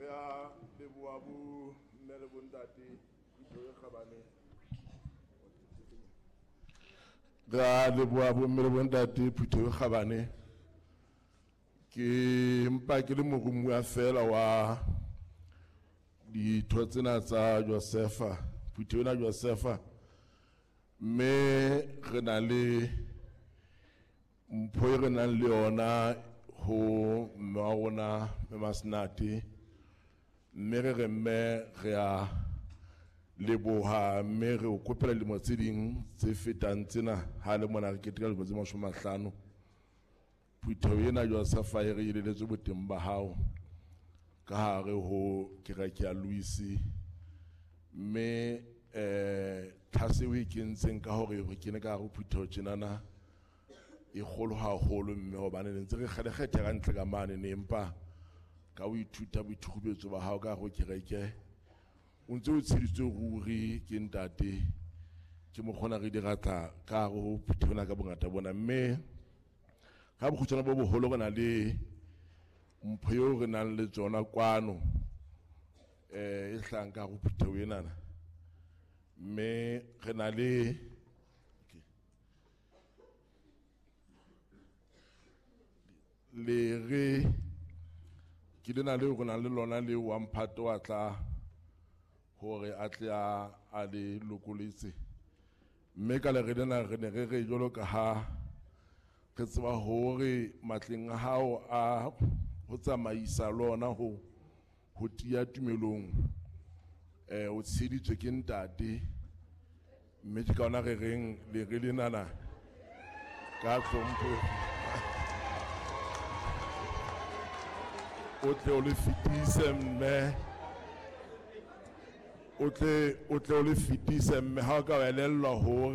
Re a leboha bo mme le bontate, phutheho e kgabane. Re a leboha bo mme le bontate, phutheho e kgabane. Ke mpa ke le morumuwa fela wa ditho tsena tsa Josefa, phutheho ena Josefa, mme re na le mpho e re nang le yona ho mme wa rona Mme Masenate, mme re re mme re a leboha, mme re o kopela dilemo tse ding tse fetang tsena ha le mona re keteka dilemo tse 50. Phutheho ena Josefa e re eleletswe boteng ba hao ka hare ho kereke ya Louis, mme tlhase o e kentseng ka hore re kene ka hare ho phutheho tjenana e kgolo haholo, mme hobane ne ntse re kgelekgethe ka ntle ka mane ne, empa ka ho ithuta boithukubetso ba hao ka hare ho kereke o ntse o tsheditswe ruri ke ntate, ke mokgona re di ratla ka hare ho phutheho ena ka bongata bona. Mme ka bokgutshwane bo boholo re na le mpho eo re nang le tsona kwano, e hlahang ka hare ho phutheho enana, mme re na le lere ke lena leo re nang le lona le wa mphato wa tla hore a tle a le lokoletse. Mme ka lere lena re ne re re jwalo ka ha re tseba hore matleng a hao a ho tsamaisa lona ho tiya tumelong, o tsheditswe ke ntate, mme ke ka hona re reng lere lenana ka hlompho o tle o le fetise, mme o tle o le fetise, mme ha o ka elellwa hore